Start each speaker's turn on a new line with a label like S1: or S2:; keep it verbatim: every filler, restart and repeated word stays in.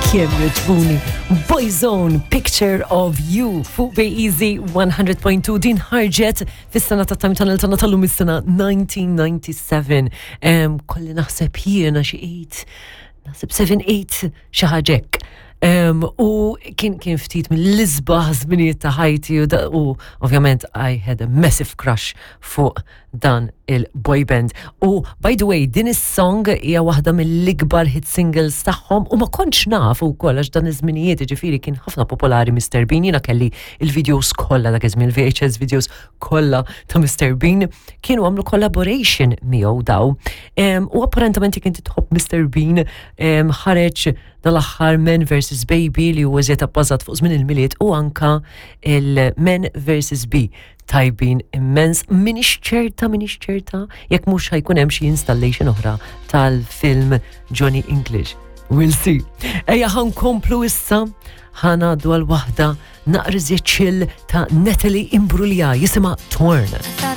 S1: Kemm jogħġbuni. Boyzone, Picture of You, fuq Bay Easy one hundred point two, din ħarġet fis-sena ta' Time Tunnel tagħna tal-lum, is-sena elf disa' mija u disgħa u sebgħin. Em, Kolli naħseb jiena xi eight, naħseb seba', tmienja, xi ħaġa hekk. Um, u kien kien ftit mill-isbaħ żminijiet ta' ħajti u, da- u ovvjament I had a massive crush fuq dan il-boy band. U by the way, din is-song hija waħda mill-ikbar hit singles tagħhom u ma kontx naf ukoll għax dan iż-żminijiet, ġifieri, kien ħafna popolari Mister Bean. Jiena kelli il-videos kollha dak iż-żmien, il-V H S videos kollha ta' Mister Bean, kienu għamlu collaboration miegħu daw. Em, u apparentament jekk inti tħobb Mister Bean, em, ħareġ dal-aħħar Men versus. Baby li huwa żied abbażat fuq żmien il-Milied u anka il-Men versus. Bee tajbin immens. Minix ċerta, minix ċerta, jekk mhux ħa jkun hemm xi installation oħra tal-film Johnny English. We'll see. Ejja ħa nkomplu issa, ħa ngħaddu għal waħda naqra chill ta' Natalie Imbruglia, jisimha Torn.